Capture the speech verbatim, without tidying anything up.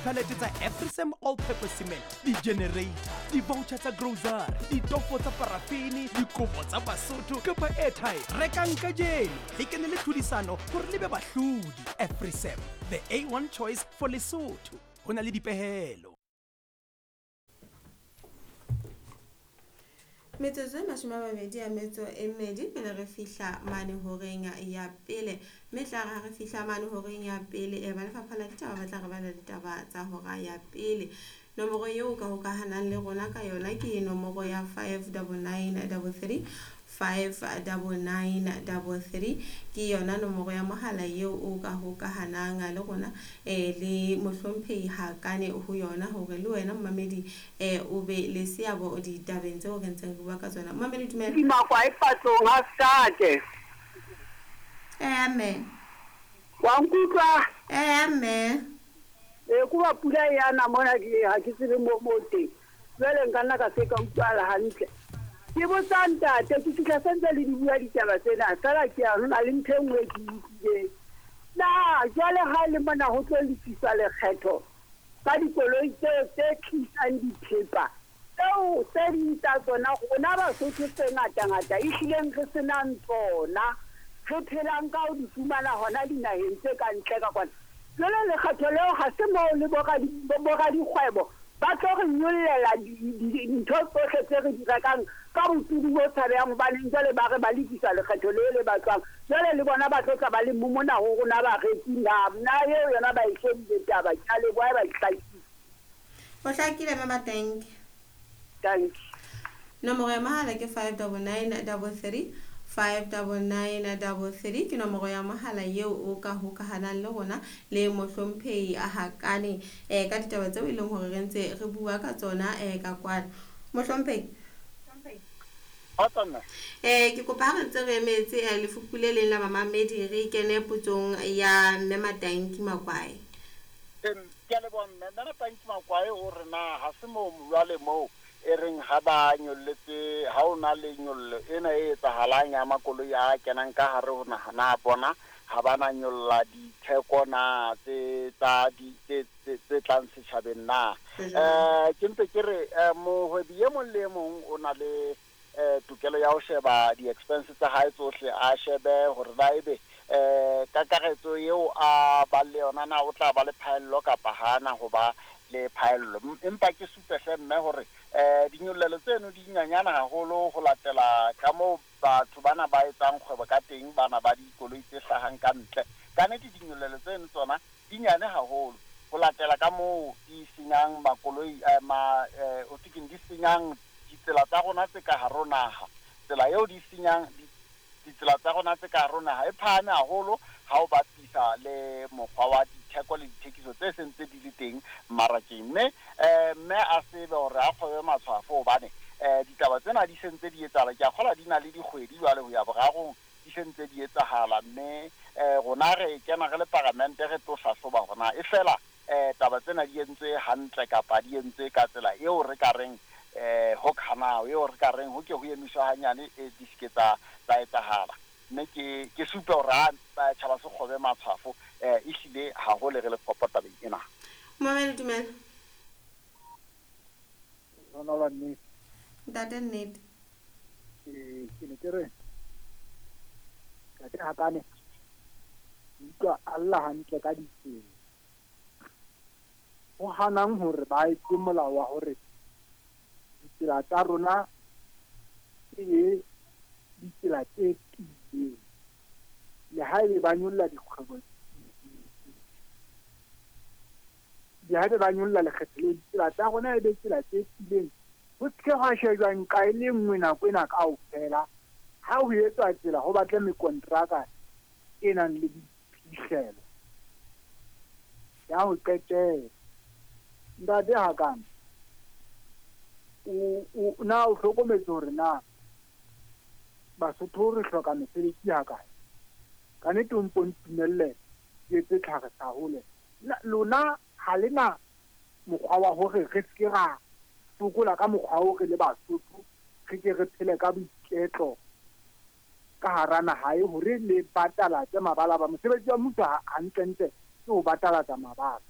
Di-pallet tsa Afrisam all purpose cement, di-generator, di-voucher tsa grocery, ditofo tsa parafini, dikobo tsa Basotho kapa airtime. Rekang kajeno le kene le tlhodisano hore le be bahlodi. Afrisam, the A one choice for Lesotho. Ho na le dipehelo. Metsotso e mashome a mabedi a metso e mmedi pele re fihla mane horeng ya pele, mme tla re ha re fihla mane horeng ya pele e ba lefapha la ditaba ba tla re bala ditaba tsa hora ya pele. Nomoro eo ka hokahanang le rona ka yona ke nomoro ya five double nine double three, five double nine double three ke yona nomoro ya mohala eo o ka hokahanang le rona eh le mohlomphehi Hakane ho yona hore le wena momamedi eh o be le seabo ditabeng tseo re ntseng re bua ka tsona. Momamedi dumela. Dimakwa e patlong ha state. Eh mme. Wa nkutlwa? Eh mme. E kuba pula ya na mona ke ha ke tsebe mo mo teng. Jwale nka nna ka se ka utlwala hantle. Ke botsa ntate ke fihla sentse le di bua ditaba tsena fela ke a hona le ntho e nngwe ke utlwileng. Na jwale ha le mona ho tlo lefiswa lekgetho ka dikoloi tseo tse tlisang dithepa tseo tse ding tsa tsona rona Basotho tse ngata-ngata ehlileng re senang tsona, re phelang ka ho di fumana hona dinaheng tse ka ntle ka kwana. Jwale lekgetho leo ha se moo le boradikgwebo ba tlo re nyollela dintho tsohle tse re di rekang ka boturu bo tshabehang, hobaneng jwale ba re ba lefisa lekgetho leo le batlwang. Jwale le bona ba tlo tla ba le mona ho rona bareki na na eo yona ba e shebile taba. Ke a leboha, ba e hlakile. Ho hlakile mama, thank you. Thank you. Nomoro ya mohala ke five double nine double three, five double nine double three ke nomoro ya mohala eo o ka hokahanang le rona le mohlomphehi a Hakane eh ka ditaba tseo e leng hore re ntse re bua ka tsona eh ka kwana. Mohlomphehi eh ke kopa ha re ntse re emetse lefupu le leng la bamamedi re kene potsong ya Mme Matanki Makwae. Ke a leboha mme. Mme Matanki Makwae o re na ha se moo jwale moo e reng ha ba nyolletse, ha o na le nyollo ena e etsahalang ya makoloi a kenang ka hare ho naha, na bona ha ba na nyolla ditheko na tse tsa di tse tse tlang setjhabeng na. Eh ke mpe ke re mohwebi e mong le e mong o na le eh tokelo ya ho sheba di-expenses tsa hae tsohle, a shebe hore na ebe eh kakaretso eo a ba le yona na o tla ba le phaello kapa hana ho ba le phaello. Empa ke supe hle mme hore eh dinyollelo tseno di nyanyana haholo ho latela ka moo batho bana ba etsang kgwebo ka teng, bana ba dikoloi tse hlahang ka ntle. Ka nnete dinyollelo tseno tsona di nyane haholo ho latela ka moo di senyang makoloi ma o thekeng di senyang ditsela tsa rona tse ka hare ho naha. Tsela eo di senyang ditsela tsa rona tse ka hare ho naha e phahame haholo ha o bapisa le mokgwa wa ditheko le dithekiso tse seng tse di le teng mmarakeng. Mme eh mme a tsebe hore a kgobe matshwafo hobane eh ditaba tsena di sentse di etsahala. Ke a kgolwa di na le dikgwedi jwale ho ya borarong di sentse di etsahala, mme eh rona re kena re le paramente re tlo hlahloba hore na e fela eh taba tsena di entswe hantle kapa di entswe ka tsela eo re ka reng eh ho khanao eo re ka reng ho ke ho emiswa hanyane e di seke tsa tsa etsahala. Mme ke ke supe hore ha tjhaba se kgobe matshwafo eh ehlile haholo re le kgopo tabeng ena. Momamedi dumela. Rona la nnete. Ntate nnete. Eh ke ne ke re Ntate Hakane utlwa alla hantle ka ditsela. Ho hanang hore ba etse molao wa hore ditsela tsa rona e ditsela tse tiileng, le haebe ba nyolla dikgwebo, le haebe ba nyolla lekgetho le ditsela tsa rona e be tsela tse tiileng. Ho se ke hwa shejwa nqa e le nngwe nako ena kaofela. Ha ho etswa tsela ho batle mekontraka e nang le diphihlelo ya ho qetela. Ntate Hakane, o o na o hlokometse hore na Basotho re hloka mesebetsi hakae? Ka nnete o mpo ntumelle ke etse tlhagisa hole. Lona ha le na mokgwa wa hore re se ke ra sokola ka mokgwa oo re le Basotho, re ke re phele ka boiketlo ka hara naha e hore le batalatse mabala ba mosebetsi wa mmuso hantlentle ke ho batalatsa mabala.